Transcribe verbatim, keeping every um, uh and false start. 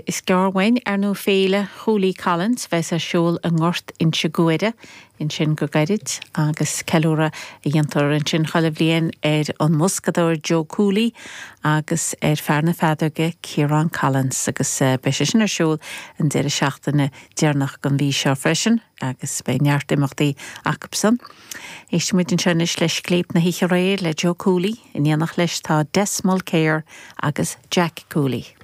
Is gearr uainn ar ndóigh Féile Cooley Collins bheas ar siúl i nGort Inse Guaire ansin go gairid agus ceiliúradh a dhéantar ansin chuile bhliain ar an mboscadóir Joe Cooley agus ar fear na feadóige Ciarán Collins agus beidh sé sin ar siúl an deireadh seachtaine deireanach den mhí seo freisin agus beidh neart imeachtaí acusan. Éistfimid anseo anois le Scléip na hOíche Aréir le Joe Cooley, in éineacht leis tá Des Mulcair agus Jack Cooley.